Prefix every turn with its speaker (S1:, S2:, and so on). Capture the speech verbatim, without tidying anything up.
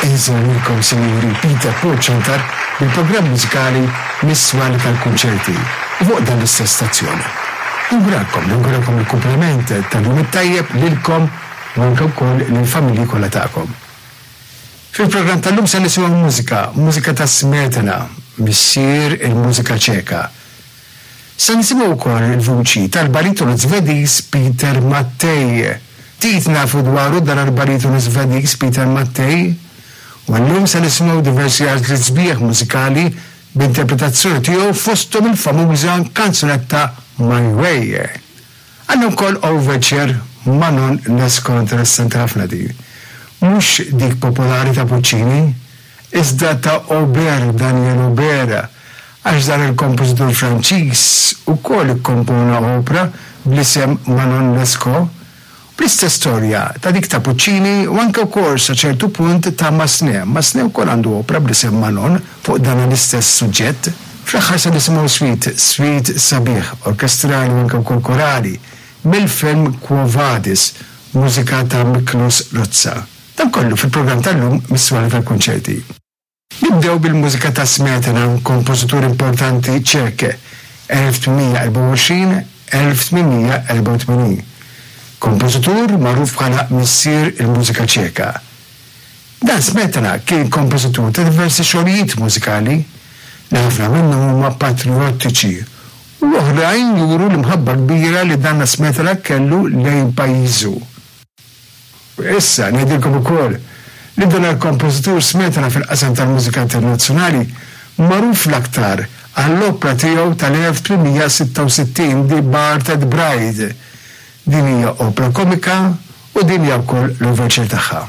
S1: Insellmilkom Sinjuri Peter Paul Ciantar bil-programm mużikali Mis-Swali tal-Kunċerti u fuq dan l-istess stazzjon. Nawguralkom, nawguralkom il-kumplament tal-jum it-tajjeb lilkom u anke wkoll lill-familji kollha tagħkom. Fil-programm tal-lum se nisimgħu mużika, mużika ta' Smetana, missier il-mużika ċeka. Se nisimgħu wkoll il-vuċi tal-baritonu Svediż Peter Mattei. Ftit nafu dwaru dan il-baritonu Svediż Peter Mattei, u llum se nisimgħu diversi għażliet sbieħ mużikali b'interpretazzjoni tiegħu fosthom il-famuża kanzunetta My Way. Għandna wkoll overture Manon Lescaut interessanti ħafna din. Mhux dik popolari ta' Puccini, iżda ta' Auber, Daniel Auber, għax dan il-kompożitur Franċiż ukoll ikkompona opra bl-isem Manon Lescaut, bl-istess storja ta' dik ta' Puccini u anke wkoll sa ċertu punt ta' Massenet. Massenet ukoll għandu opra bl-isem Manon fuq dan l-istess suġġett. Fl-aħħar se nisimgħu suite, suite sabiħ, orkestrali u anke wkoll korali, mill-film Quo Vadis, mużika ta' Miklos Rozsa. Dan kollu fil-programm tal-lum mis-swali tal-kunċerti. Nibdew bil-mużika ta' Smetana, kompożitur importanti ċek, elf tmien mija erbgħa u għoxrin elf tmien mija erbgħa u tmenin. Kompożitur magħruf bħala missier il-mużika ċeka. Dan Smetana kien kompożitur ta' diversi xogħlijiet mużikali li ħafna minnhom huma patriottiċi u oħrajn juru l-imħabba kbira li dan Smetana kellu lejn pajjiżu. Issa ngħidilkom ukoll li dan il-kompożitur Smetana fil-qasam tal-mużika internazzjonali magħruf l-aktar għall-opra tiegħu tal-elf tmien mija sitta u sittin The Bartered Bride. Din hija opra komika u din hija wkoll l-overture tagħha.